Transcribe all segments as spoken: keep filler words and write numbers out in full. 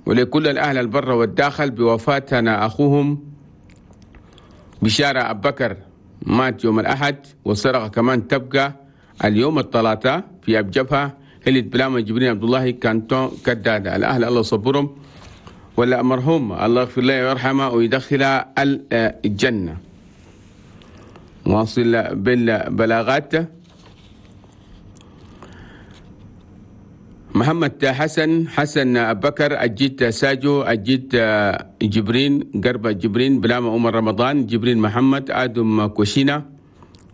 ولكل الأهل البر والداخل بوفاتنا أخوهم بشارة أبو بكر، مات يوم الأحد والسرقة كمان تبقى اليوم الثلاثاء في أبجبهة هلة بلامة جبرين عبد الله كانتون كدادة. الأهل الله صبرهم، ولا مرحوم الله يغفر له ويرحمه ويدخله الجنة. واصل بالبلاغات. محمد حسن حسن أبو بكر أجيت ساجو أجيت جبرين قربة جبرين بلامة عمر رمضان جبرين محمد آدم كوشينا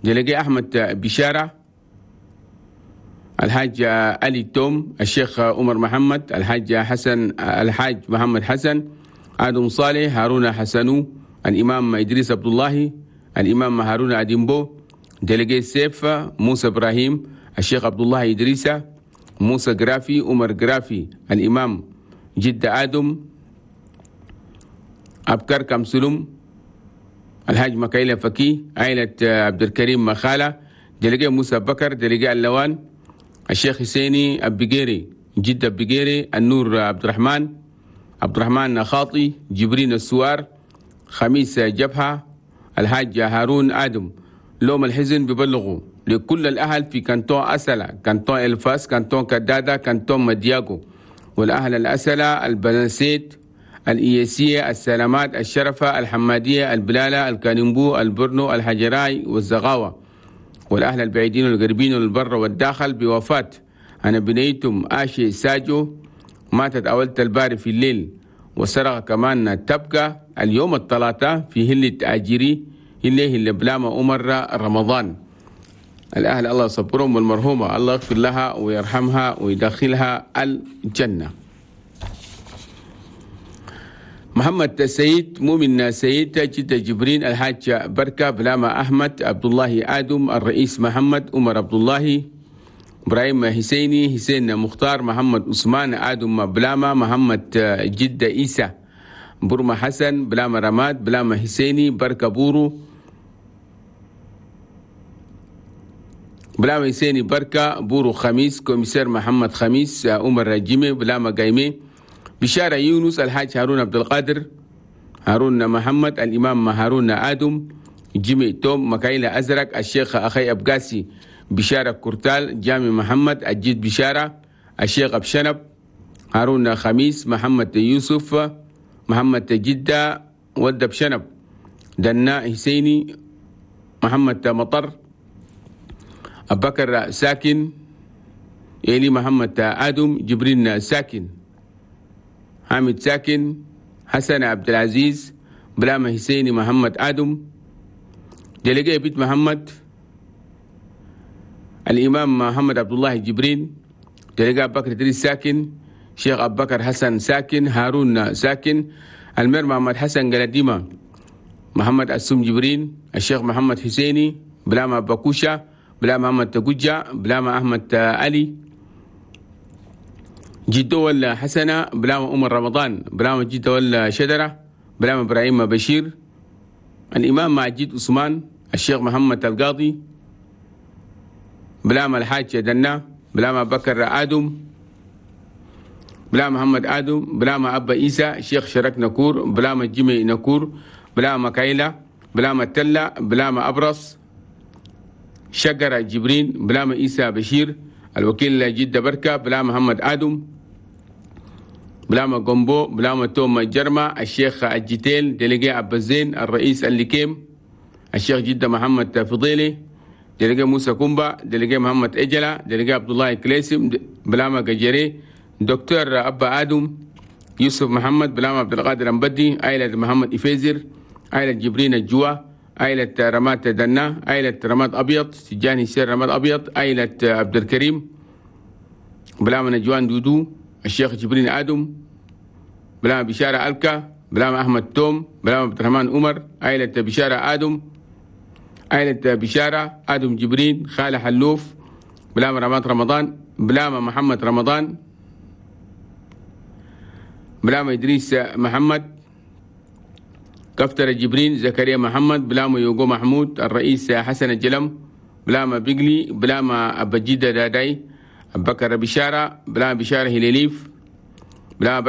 دلقي أحمد بشارة الحاج علي توم الشيخ عمر محمد الحاج حسن الحاج محمد حسن آدم صالح هارون حسنو الإمام إدريس عبد الله الإمام هارون أديمبو دلقي سيف موسى إبراهيم الشيخ عبد الله إدريسة موسى جرافي عمر جرافي الإمام جدة آدم أبكر كمسلم الحاج مكايلة فكي عائلة عبد الكريم مخالة دلقي موسى بكر دلقي اللوان الشيخ حسيني أبيجيري جدة أبيجيري النور عبد الرحمن عبد الرحمن خاطي جبرين السوار خميس جبهة الحاج هارون آدم. لوم الحزن ببلغوا لكل الأهل في كانتون أسلة كانتون الفاس كانتون كدادة كانتون مدياغو والأهل الأسلة البنسيت الإياسية السلامات الشرفة الحمادية البلالة الكانمبو البرنو الحجراي والزغاوة والأهل البعيدين والقريبين والبر والداخل بوفاة أنا بنيتم آشي ساجو ماتت أولت الباري في الليل وسرق كمان تبقى اليوم الثلاثاء في هلة أجيري اللي هي بلامة عمر رمضان. الأهل الله يصبرهم والمرحومة الله يغفر لها ويرحمها ويدخلها الجنة. محمد سيد مؤمن سيد جدة جبرين الحاج بركة بلامة أحمد عبد الله آدم الرئيس محمد عمر عبد الله إبراهيم حسيني حسين مختار محمد عثمان آدم بلامة محمد جدة إيسى برما حسن بلامة رماد بلامة حسيني بركة بورو بلامة حسيني بركة بورو خميس كوميسير محمد خميس عمر رجيمي بلامة قايمي بشارة يونس الحاج هارون عبد القادر هارون محمد الإمام هارون آدم جيمي توم مكايلة أزرق الشيخ أخي أبقاسي بشارة كورتال جامي محمد الجيد بشارة الشيخ أبشنب هارون خميس محمد يوسف محمد جدة ود بشنب دنا حسيني محمد مطر أبكر ساكن إلي محمد آدم جبرين ساكن حامد ساكن حسن عبد العزيز بلامة حسيني محمد آدم دلقي بيت محمد الإمام محمد عبد الله جبرين دلقي أبو بكر إدريس ساكن شيخ أبو بكر حسن ساكن هارون ساكن المير محمد حسن قلديمة محمد أسوم جبرين الشيخ محمد حسيني بلامة بكوشة بلامة محمد تقجة بلامة أحمد علي جدو ولا حسنة بلامة عمر رمضان بلامة جدو ولا شدرة بلامة إبراهيم بشير الإمام معجد عثمان الشيخ محمد القاضي بلامة الحاج دنا بلامة بكر آدم بلامة محمد آدم بلامة أبا إيسى الشيخ شرك نكور بلامة جيمي نكور بلامة كايلة بلامة تلة بلامة أبرص شجرة جبرين بلامة إيسى بشير الوكيل جدة بركة بلامة محمد آدم بلامة قنبو بلامة توم جرمة الشيخ الجتيل دلقي عبد الزين الرئيس الليكيم الشيخ جدة محمد فضيلي دلقي موسى كومبا دلقي محمد إجلة دلقي عبد الله كليسم بلامة قجري دكتور أبا آدم يوسف محمد بلامة عبد القادر أمبدي عائلة محمد إفيزر عائلة جبرين الجوا عائلة رمات دنا عائلة رماد أبيض سجاني سير رماد أبيض عائلة عبد الكريم بلامة نجوان دودو الشيخ جبرين آدم بلامة بشارة ألكا بلامة أحمد توم بلامة عبد الرحمن عمر عائلة بشارة آدم عائلة بشارة آدم جبرين خالة حلوف بلامة رماد رمضان بلامة محمد رمضان بلامة إدريس محمد كفتر جبرين زكريا محمد بلامة يوغو محمود الرئيس حسن الجلم بلامة بيقلي بلامة أبجيدة داداي أبكر بشارة بلامة بشارة هليليف بلامة بركة.